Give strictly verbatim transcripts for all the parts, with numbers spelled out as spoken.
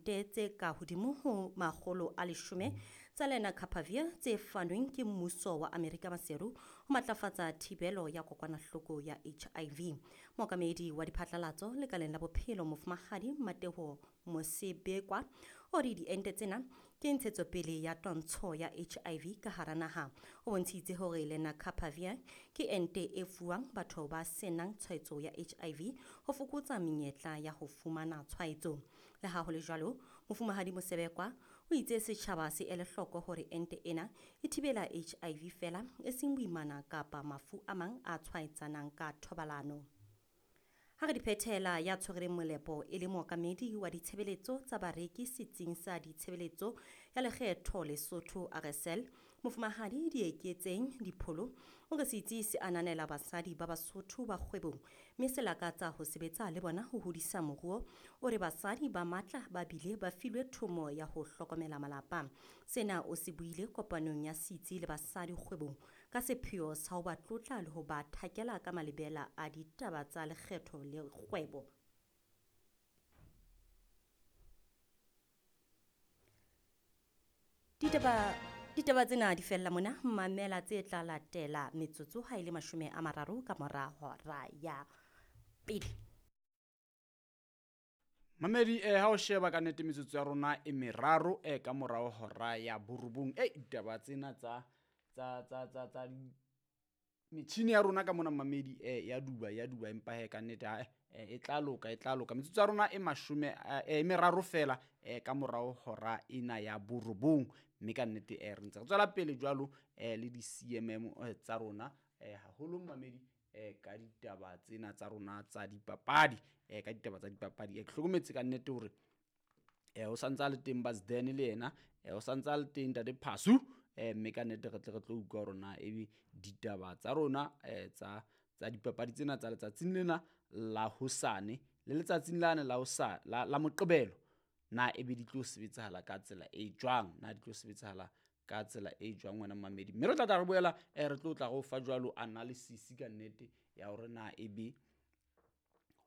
diente tse ka hodimo ho makgolo a leshome tsa Lenacapavir tse fanweng ke mmuso wa Amerika Maseru ho matlafatsa thibelo ya kokwanahloko ya H I V. Mookamedi wa diphatlalatso lekaleng la bophelo Mofumahadi Mateo Mosebekwa o re diente tsena ke ntshetsopele ya twantsho ya H I V ka hara naha. O bontshitse hore Lenacapavir ke ente e fuwang batho ba senang tshwaetso ya H I V ho fokotsa menyetla ya ho fumana tshwaetso. Le ha ho le jwalo, Mofumahadi Mosebekwa o itse setjhaba se ele hloko hore ente ena e thibela H I V fela e seng boimana kapa mafu a mang a tshwaetsanang ka thobalano. Ha re di phethela ya tshwereng molepo e le mookamedi wa ditshebeletso tsa bareki setsing sa ditshebeletso ya lekgetho Lesotho R S L, Mofumahadi Dieketseng Dipholo o re setsi se ananela basadi ba Basotho ba kgwebong mme se lakatsa ho sebetsa le bona ho hodisa moruo. O re basadi ba matla ba bile ba filwe thomo ya ho hlokomela malapa. Sena o se buile kopanong ya setsi le basadi kgwebong ka sepheo sa ho ba tlotla le ho ba thakela ka malebela a ditaba tsa lekgetho le kgwebo. Ditaba ditaba tsena di fella mona, mamela tse tla latela metsotso ha ile mashome a mararo ka mora hora ya pele. Mamedi eh ha o sheba ka nnete metsotso ya rona e meraro eh ka morao hora ya borobong. Eh ditaba tsena tsa tsa tsa tsa tsa metjhini ya rona ka mona mamedi eh ya duba ya duba empa he ka nnete ha e tla loka e tla loka. Metsotso ya rona e mashome e meraro fela eh ka morao hora ena ya borobong, mme ka nnete eh re ntse re tswela pele jwalo eh le di C M M tsa rona eh haholo mamedi eh ka ditaba tsena tsa rona tsa dipapadi eh ka ditaba tsa dipapadi. Eh ke hlokometse ka nnete hore eh o santsa le teng Basden le yena eh o santsa le teng Ntate Phasu eh mme ka nnete re tle re tlo utlwa hore na ebe ditaba tsa rona eh tsa tsa dipapadi tsena tsa letsatsing lena la hosane le letsatsing lane la hosa la, la Moqebelo na ebe di tlo sebetsahala ka tsela e jwang, na di tlo sebetsahala ka tsela e jwang wena mamedi. Mme re tla tla re boela eh re tlo tla go fa jwalo analysis ka nnete ya hore na ebe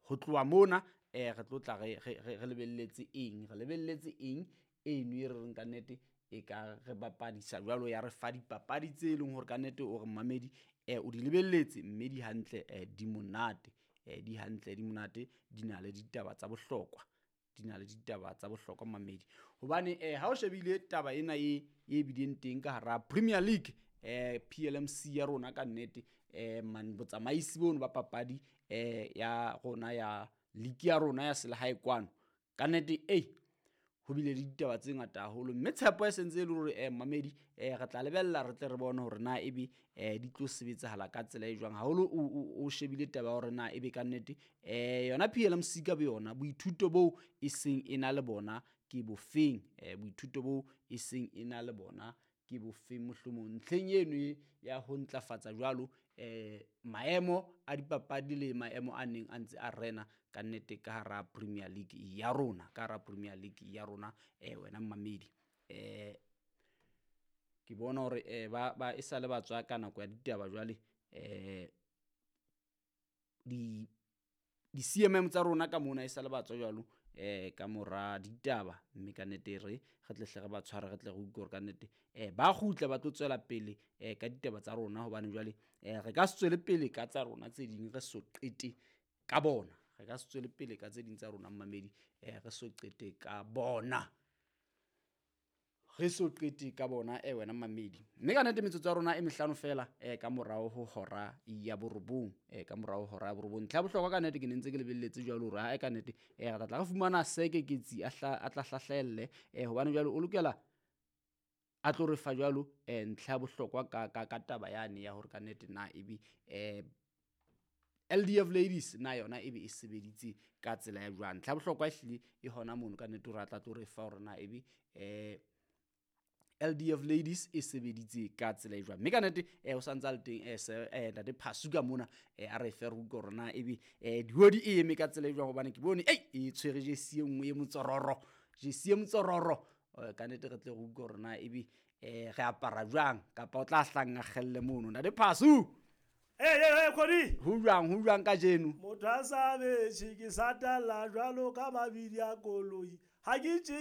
ho tloha mona eh re tlo tla re re lebelletse eng, re lebelletse eng eno e re reng ka nnete e ka re bapadisa jwalo ya re fa dipapadi tse leng hore ka nnete o re mamedi eh o di lebelletse mme di hantle eh di monate eh di hantle di monate di na le ditaba tsa bohlokwa, di na le ditaba tsa bohlokwa mamedi. Hobane eh ha o shebile taba ena e e bileng teng ka hara Premier League eh P L M C ya rona ka nnete eh man botsamaisi bono ba papadi eh ya rona ya league ya rona ya selehae kwano ka nnete eh ho bile le ditaba tse ngata haholo, mme tshepo e sentse e le hore eh mamedi eh re tla lebella re tle re bone hore na ebe eh di tlo sebetsahala ka tsela e jwang. Haholo o shebile taba hore na ebe ka nnete eh yona P L M C ka boyona boithuto bo e seng e na le bona ke bofeng, eh boithuto bo e seng e na le bona ke bofeng mohlomong ntlheng eno ya ho ntlafatsa jwalo eh maemo a dipapadi le maemo a neng a ntse a rena ka nnete ka hara Premier League ya rona, ka hara Premier League ya rona eh wena mamedi. Eh ke bona hore eh ba ba e sale ba tswa ka nako ya ditaba jwale eh di di C M M tsa rona ka mona e sale ba tswa jwalo eh ka mora ditaba, mme ka nnete re re tle hle re ba tshware re tle re utlwe hore ka nnete eh ba kgutla ba tlo tswela pele eh ka ditaba tsa rona, hobane jwale eh re ka se tswele pele ka tsa rona tse ding re so qete ka bona, re ka se tswele pele ka tse ding tsa rona mamedi eh re so qete ka bona, re so qete ka bona eh wena mamedi. Mme ka nnete metsotso ya rona e mehlano fela eh ka morao ho hora ya borobong eh ka morao ho hora ya borobong. Ntlha ya bohlokwa ka nnete ke ne ntse ke lebelletse jwalo hore ha e ka nnete eh re tla tla re fumana Sekeketsi a hla a tla hlahlelle eh hobane jwalo o lokela a tlo re fa jwalo eh ntlha ya bohlokwa ka ka ka taba yane ya hore ka nnete na ebe eh L D F Ladies na yona ebe e sebeditse ka tsela ya jwang. Ntlha ya bohlokwa ehlile e hona mono ka nnete hore a tla tlo re fa hore na ebe eh L D F Ladies e sebeditse ka tsela e jwang. Mme ka nnete eh o santsa le teng eh eh Ntate Phasu ka mona eh a re fe re utlwe hore na ebe eh dihodi e eme ka tsela e jwang, hobane ke bone ei e tshwere jesi e nngwe e motsororo, jesi e motsororo ka nnete re tle re utlwe hore na ebe eh re apara jwang kapa o tla hlanga kgelle mono. Ntate Phasu Hey, hey, hey, Kodi. Ho jwang, ho jwang kajeno? Motho a sa betjhe ke satalla jwalo ka mabidi a koloi. Ha ke tjeke